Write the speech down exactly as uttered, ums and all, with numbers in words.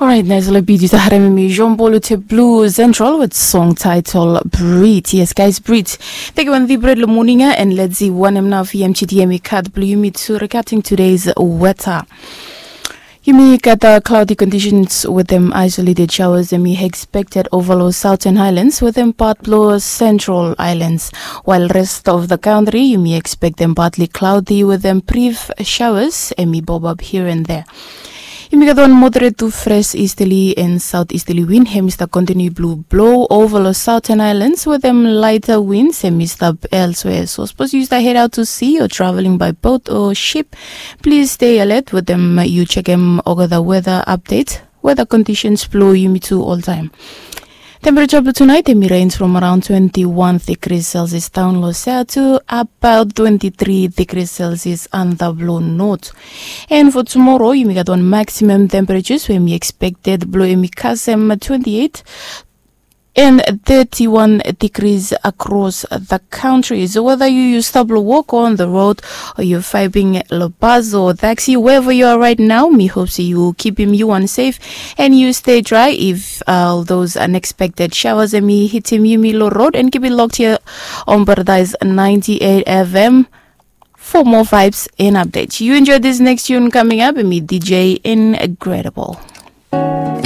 Alright, nice little beat. Yu stap harem mi Jean Paul Te Blue Central with song title Brit. Yes, guys, Brit. Thank you, Andy Bread Lemoninga, and let's see one enough E M G D M E cut blue. You meet to regarding today's weather. Yumi gat cloudy conditions with them isolated showers and we expected over lo Southern Highlands with them part lo Central Islands, while rest of the country yumi expect them partly cloudy with them brief showers and we bob up here and there. Yumi gat one moderate to fresh easterly and southeasterly wind. Hem is the continue blue blow over lo Southern Islands with them lighter winds. Hem is the elsewhere. So suppose you start head out to sea or traveling by boat or ship, please stay alert with them. You check them over the weather update. Weather conditions blow yumi to all time. Temperature blue tonight, they may range from around twenty-one degrees Celsius down low south to about twenty-three degrees Celsius on the blue north. And for tomorrow, you may get on maximum temperatures when we expected blue emi kasem twenty-eight and thirty-one degrees across the country. So whether you use stop walk on the road or you're vibing lo bus or taxi, wherever you are right now, me hope so you keep him you one safe and you stay dry. If all those unexpected showers and me hit him you me lo road and keep it locked here on Paradise ninety-eight F M for more vibes and updates. You enjoy this next tune coming up and me D J Incredible.